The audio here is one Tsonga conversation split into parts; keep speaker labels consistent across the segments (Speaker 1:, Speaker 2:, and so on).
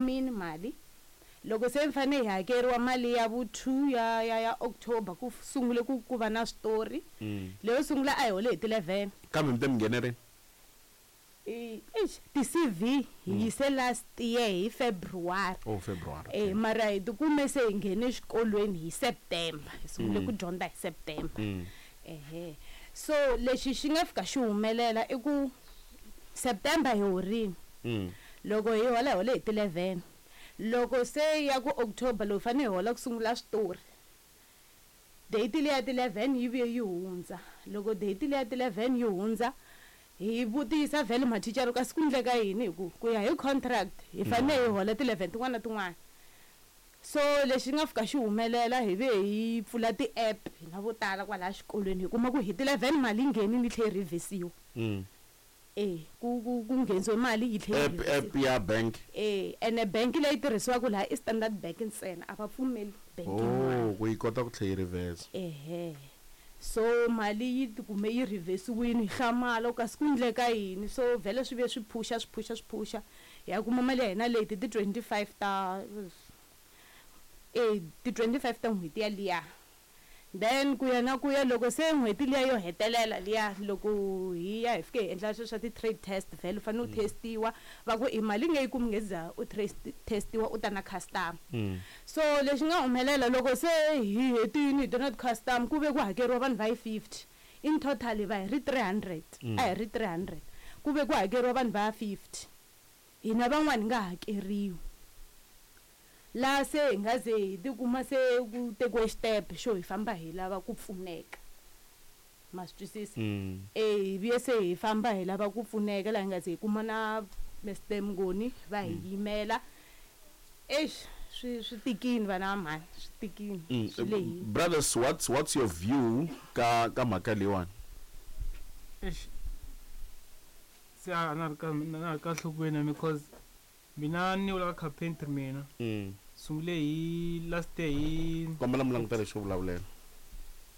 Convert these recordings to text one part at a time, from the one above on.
Speaker 1: Mini mali loko se mi fanele hi hakeriwa mali ya vu 2 ya ya ya October ku sungule ku ku va na switori leyo sungula a hi hole hi ti 11
Speaker 2: Kambe mi te mi nghene rini?
Speaker 1: I eish ti CV hi yise last year hi February.
Speaker 2: Oh, February.
Speaker 1: Eh mara hi tikume se hi nghene exikolweni hi September hi sungule ku dyondza hi September. Ehe so lexi xi nga fika xi humelela i ku September hi horile. Loko hi hola hi hole hi ti 11 loko se ya ku October loko hi fanele hi hola ku sungula switori date liya ti 11 yi vuye yi hundza loko date liya ti 11 yi hundza hi vutisa vhele mathicara kasi ku ndleka yini hi ku ku ya hi contract hi fanele hi hola ti 11 tin'wana na tin'wana so lexi nga fika xi humelela hi ve hi pfula ti-app hina vo tala kwalaya xikolweni hi kuma ku hi ti 11 mali yi nghenile yi tlhela yi revhesiwa. E ku ku ku nghenisiwe mali yi tlhela yi
Speaker 2: App app ya bank.
Speaker 1: E ene bank leyi tirhisiwaka laha i Standard Bank ntsena a va pfumeli bank yin'wana.
Speaker 2: Oh, ku yi kota ku tlhela yi reverse.
Speaker 1: Ehe so mali yi tikume yi reverse-wini hi hlamala ku kasi ku ndleka yini so vhele swi vuye swi phusha swi phusha swi phusha hi ya kuma mali ya hina late hi ti 25 ta e ti 25 ta n'hweti yaliya. Then ku ya na ku ya loko se n'hweti liya yo hetelela liya loko hi ya hi fike hi endla sweswo swa ti-trade test vhele u fanele u test-iwa va ku i mali nge yi kumi nge za u test-iwa u ta na customer. So lexi nga humelela loko se hi hetile hi ta na ti-customer ku ve ku hakeriwa vanhu va yi 50 in total hi va hi ri 300 a hi ri 300 ku ve ku hakeriwa vanhu va 50 hina van'wani hi nga hakeriwi. Laha se hi nga ze hi tikuma se ku tekiwe xitepe xo hi famba hi lava ku pfuneka ma swi twisisa e hi vuye se hi famba hi lava ku pfuneka laha hi nga ze hi kuma na Mr Mnguni va hi yimela eish swi swi tikini vana va mhani swi tikini swi lehile.
Speaker 2: Brothers, what's your view ka ka mhaka leyiwani?
Speaker 3: Eish se a na ri ka na ri ka nhlokweni because mina ni vula ka carpentry mina sungule hi last year hi
Speaker 2: Kombela mi languta lexi xo vulavulela.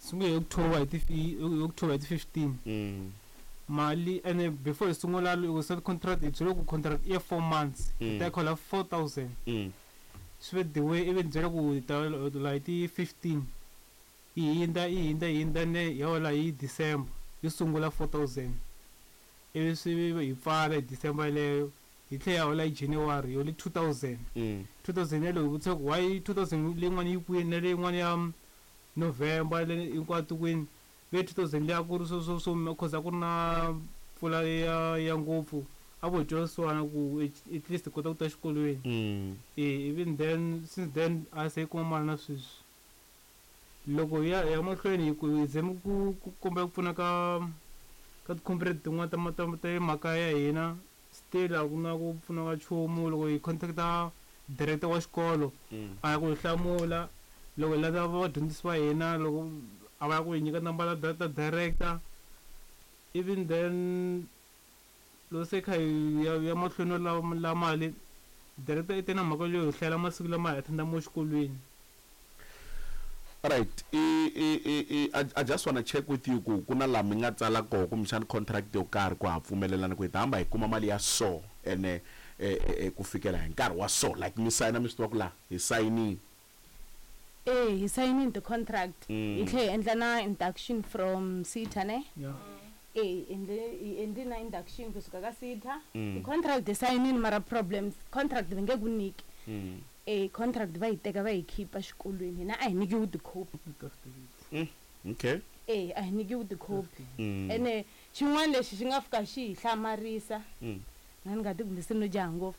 Speaker 3: Sungule hi October hi ti hi October hi ti 15 mali ene before hi sungula loko se contract hi byeriwe ku contract i ya 4 months hi ta khola 4000 swi ve the way ivi ni byela ku hi ta hola hi ti 15 yi hindza yi hindza yi hindza ne hi hola hi December yo sungula 4000 ivi swi hi pfala hi December yeleyo hi tlhela hi hola hi January hi hole 2000 2000 yaleyo hi vutisa ku why 2000 leyin'wana yi kwini na leyin'wana ya November le hinkwato kwini ve 2000 liya ku ri swo swo swo cause a ku ri na mpfula ya ya ngopfu a vo hi twela vusiwana ku at least hi kota ku ta exikolweni e even then since then a se hi kuma mali na sweswi loko hi ya hi ya mahlweni hi ku hi zame ku ku kombela ku pfuna ka ka ti-comrade tin'wana ta ta ta le makaya ya hina still a ku na ku pfuna ka nchumu loko hi contact-a director wa xikolo a ya ku hi hlamula loko hi landza vadyondzisi va hina loko a va ya ku hi nyika nambara ta director even then loko se kha hi ya ya mahlweni no lava la mali director i te na mhaka leyo hi hlayela masiku lama hi attend mo xikolweni.
Speaker 2: Alright, i i i i I, I just wanna check with you ku ku na laha mi nga tsala koho kumbexana contract yo karhi ku ha pfumelelana ku hi ta hamba hi kuma mali ya so ene ku fikela hi nkarhi wa so like mi sayina mi swi tiva ku laha hi sayinini.
Speaker 1: E hi sayinini ti-contract hi tlhela hi endla na induction from SETA ne
Speaker 3: Yeah.
Speaker 1: E hi endle hi endli na induction kusuka ka SETA ti-contract hi sayinini mara problems contract va nge ku nyiki E contract va yi teka va yi khipa xikolweni hina a hi nyikiwi ti-copy.
Speaker 2: Okay.
Speaker 1: E a hi nyikiwi ti-copy ene xin'wana lexi xi nga fika xi hi hlamarisa na ni nga ti kumbe se no jaha ngopfu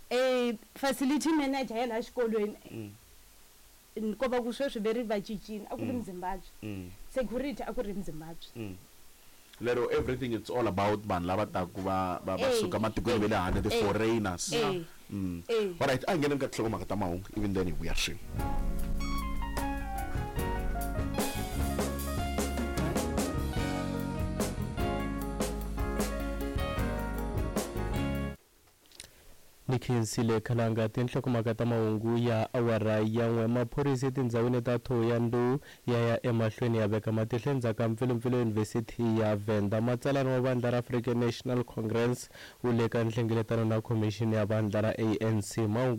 Speaker 1: e facility manager ya laha xikolweni ko va ku sweswi ve ri va cincile a ku ri Muzimbabwe security a ku ri Muzimbabwe.
Speaker 2: Lero everything it's all about vanhu lava taku va va va suka matikweni va le handle the foreigners. Alright, a hi ngheneni ka tinhlokomhaka ta mahungu even then hi vuya swin'we.
Speaker 4: Ni khensile khalanga tinhlokomhaka ta mahungu ya awara ya n'we. Maphorisa etindhawini ta Thohoyandou ya ya emahlweni ya veka matihlo endzhaku ka mpfilumpfilu eyunivhesiti ya Venda. Matsalani wa vandla ra African National Congress u le ka nhlengeletano na khomixini ya vandla ra ANC. Mahungu.